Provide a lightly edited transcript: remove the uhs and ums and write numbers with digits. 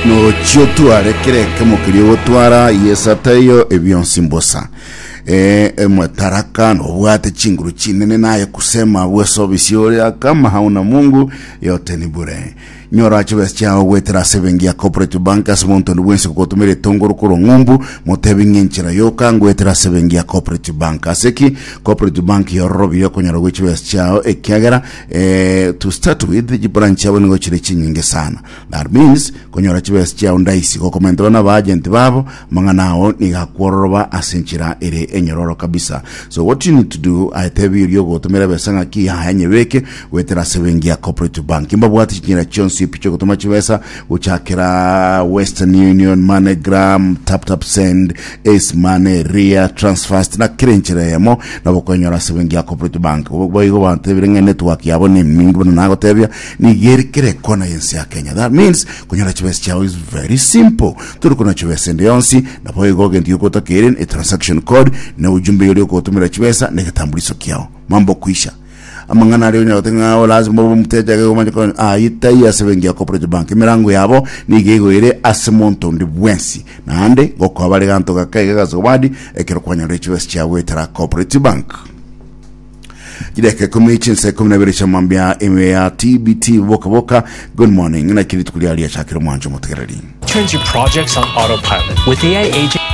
Nochia otware kera ekemo keria ogotwara, Yeso ataiyo, ebionsi mbosa. Eh, emotaraka nobwate chinguru chinene naye kusema bwesobisi ore kama hauna Mungu yote ni bure. Nyora chibesa chiao goetera ase ebenki ya Cooperative Bank ase monto onde bwensi gogotumera etongoro korwa ng'umbu, motebi ng'a enchera yoka ngoetera ase ebenki ya Cooperative Bank. Ase ki? Cooperative Bank yororobirie okonyora gwe chibesa chiao ekiagera eh, to start with chibranch chiabo nigo chire chinyinge sana. That means konyora chibesa chiao ndaisi gokomenterwa na abaagent babo amang'ana ao nigo akwororoba ase enchera ere enyororo kabisa. So what you need to do aye tebi oria ogotomera ebesa ng'aki yaya nyebeke goetera ase ebenki ya Cooperative Bank. Mbabwate chinchera chionsi pi chiogotoma chibesa gochakera Western Union, MoneyGram, TapTap Send, Ace Money, Ria, Transfast na kera enchera eyemo nabo okonyora ase ebenki ya Cooperative Bank. Boigo bantebire ng'a network yabo nemingi buna nagotebia nigo ere kera ekona y'ense ya Kenya. That means konyora chibesa chiao is very simple. Tori kona chibesa ende yonsi naboigo egento giokotakeire ne transaction code na ujumbe oria ogotomera chibesa na egetambuliso kiao. Mambo kwisha. Amang'ana aria onyara goteba ng'a lazima obe omoteja iga omanye konya ayio taiyo ase ebenki ya Cooperative Bank. Emerango yabo nigo egoire ase monto onde bwensi. Naende ngokoa bare ganto gake iga gasowadi ekero kwanyorire chibesa chiao goetera Cooperative Bank. Chidakika ikomi chinsa ikomi na ibere chia mambia ime ya TBT boka boka. Good morning. Naki rituko riaria riachakire omwancho omotegereri. Turns your projects on autopilot with AI agent.